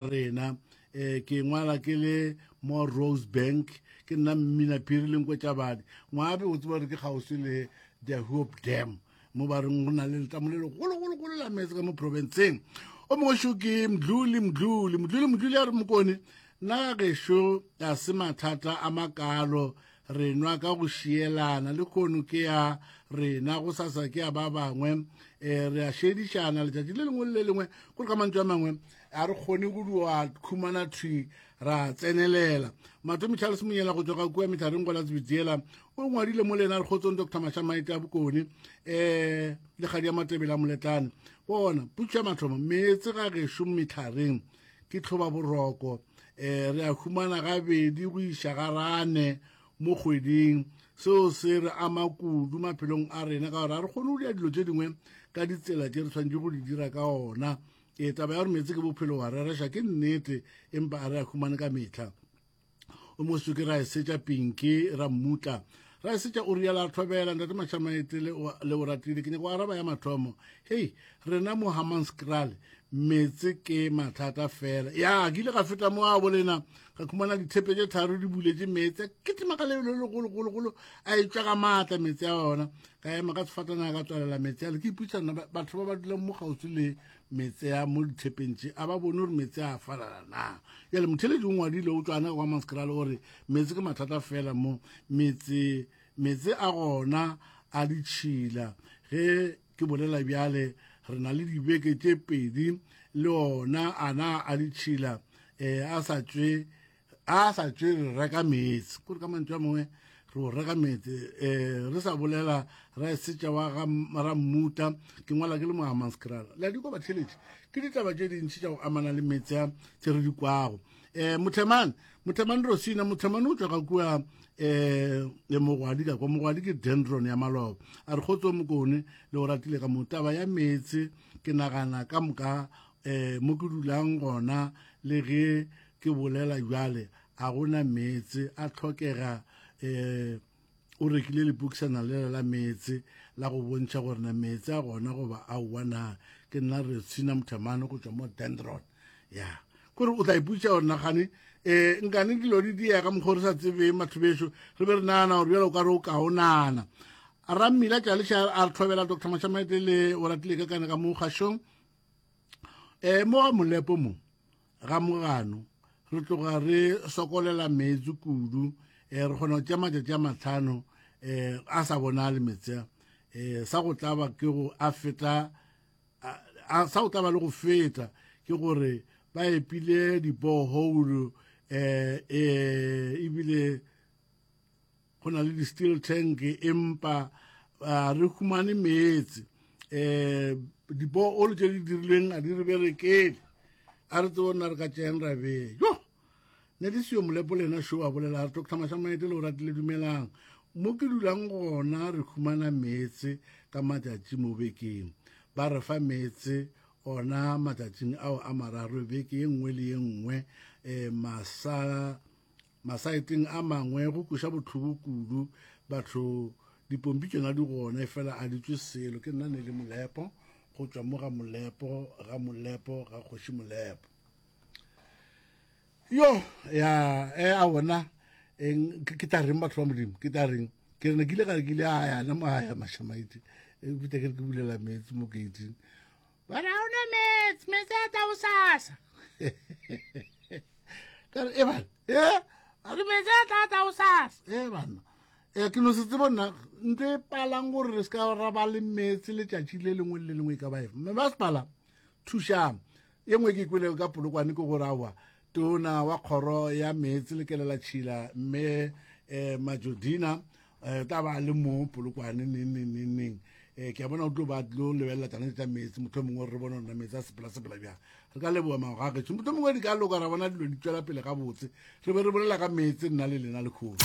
Rena. Um ke ngwala ke le mo Rosebank, ke nna Mmina Phiri le Nkwetšabadi. Ngwabe o tseba gore ke kgauswi le the Hope Dam, mo ba reng go na le letamo le legologologolo la meetse ka mo provinceng. O mongwe šo ke Mdluli, Mdluli, Mdluli, Mdluli a re Mokone, nna gešo ga se mathata a makalo, re nwa ka go šielana, le kgono ke ya rena, go sasa ke ya ba bangwe, um re a šedišana letšatši le lengwe le le lengwe. Kore ka mantšu a mangwe, a re kgone go dua khumana thwi ra tsenelela. Matomi Charles Monyela go tšwa ga kua Mehlareng go la Tsebitsela o ngwadile mo le yena re kgotsong Dr Mashamaite a Bokone um le kgadi ya Matebele a Moletlane. Bona putšo ya mathomo meetse ga gešo Mehlareng ke tlhoba boroko um re a humana gabedi go iša garane mo kgweding. Seo se re ama kudu maphelong a rena ka gore ga re kgone go dira dilo tše dingwe ka ditsela tše re tshwanetse go di dira ka ona. Ee, taba ya gore meetse ke bophelo wa rereša ke nnete, empa a re a humane ka mehla. O mo soke ra esetša Pinki ra mmutla ra esetša o riala a thobela ntate Mashamaete le le o ratile ke nyaka go araba ya mathomo. Hei, rena mo Hammanskraal meetse ke mathata fela. Ya, ke ile ka feta mo a bolena ka khumana dithepe tše tharo di buletše meetse ke tima ka lebelo le legologologolo a etšwa ka maatla meetse a ona. Ka ema ka sefatanaga ka tswalela meetse ale ke ipotšiša nna batho ba ba dulang mo kgauswi le meetse a mo dithepeng tše a ba bone gore meetse a falala na. Jale motheletši o ngwadile o tšwana kwa Maskrale o re meetse ke mathata fela mo metse, meetse a gona a ditšhila. Ge ke bolela bjale re na le dibeke tše pedi le ona ana a ditšhila um a sa tšwe a sa tšwe re reka meetse kore ka mantšu a mangwe re o reka meetse um re sa bolela ra esetša wa ga rammuta ke ngwala ke le mo Hammanskraal le a di kwa batheletši ke ditaba tše dintši tša go amana le meetse a tše re di kwago um mothemane mothemane rosina mothemane o tšwa ka kua um le mogwadi ka kwa mogwadi ke dendron ya maloba a re kgotso mokone le o ratile ka mo taba ya meetse ke nagana ka moka um mo ke dulang gona le ge Ke bolela bjale, a go na meetse a hlokega. Um o rekile lepokisana lela la meetse la go bontšha gore na meetse a gona goba aowa na. Ke nna Retsina Mothamane go tšwa mo Dendron. Ya, kore o tla ipotšiša gore nagane um nkane dilo di diega ka mokgwa o re sa tsebeng batho bešo, re be re nagana gore bjale o ka re o kaonana. Rammila Tšaleša a re thobela Doctor Mashamaite le Oratile Kekane ka mo kgašong. Um mo ga Molepo mo ga mogano re tloga re sokolela meetse kudu um re kgona go tšea matšatši a matlhano um a sa bonale meetse a um sa go tlaba ke go a feta sa go tlaba le go feta ke gore ba epile di-borehole um ebile go na le di-steel tank empa re humane meetse um dipoolo tše di dirilweng a di re berekele a re tsebo nna re ka tšeang ra bee yo ne di seyo molepo le ena šo a bolela a re doctor Mashamaete le o ratile dumelang mo ke dulang gona re humana meetse ka matšatši mo bekeng ba re fa meetse ona matšatšing ao a mararo beke ye nngwe le ye nngwe um masa Masaeteng a mangwe go kweša bohloko kudu, batho dipompi tšona di gona efela a di tšwe selo. Ke nna Nelly Molepo go tšwa mo ga Molepo, ga Molepo, ga Kgoši Molepo. Yo, ya, e a bona, eng, ke tla reng batho ba Modimo, ke tla reng? Ke re ne ke ile ka ke ile a ya na mo a ya Mashamaite, e bita ke re ke bulela meetse mo gate-ing. Ba re ga ona meetse, meetse a tla bosasa. Ka re, e bana, e, a re meetse a tla tla bosasa. E bana, e ke no se tsebo nna, ntho e palang gore re se ka ra ba le meetse letšatši le lengwe le le lengwe e ka ba efe. Mme masepala, thušang. Ye nngwe ke kwelego ka Polokwane ke gore aowa, tona wa kgoro ya meetse le kelelatšhila mme um Majodina um tla ba le mo Polokwane neng neng neng neng. Um ke a bona o tlo ba tlo lebelela tsana tša meetse, motlho mongwe re bone gore meetse a sepela sepela bjang. Re ka leboga magoga gešo, motlho mongwe di ka loka ra bona dilo di tšwela pele gabotse. Re be re bolela ka meetse nna le lena lekgono.